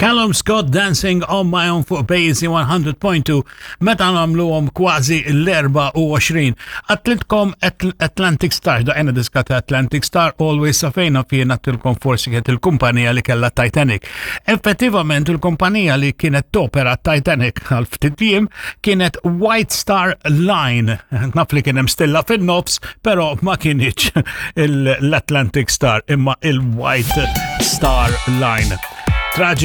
Callum Scott Dancing on My Own fuq Basie 100.2 meta nagħmluhom kważi l-24. Għattilkom Atlantic Star, daqena diska ta' Atlantic Star, always safejna fjena għattilkom forsi kienet il-kumpanija li kella Titanic. Effettivament il-kumpanija li kienet topera Titanic għal ftit jiem kienet White Star Line. Naf li kien hemm stilla fin-nofs, però ma kienx l-Atlantic Star imma il-White Star Line. Traġi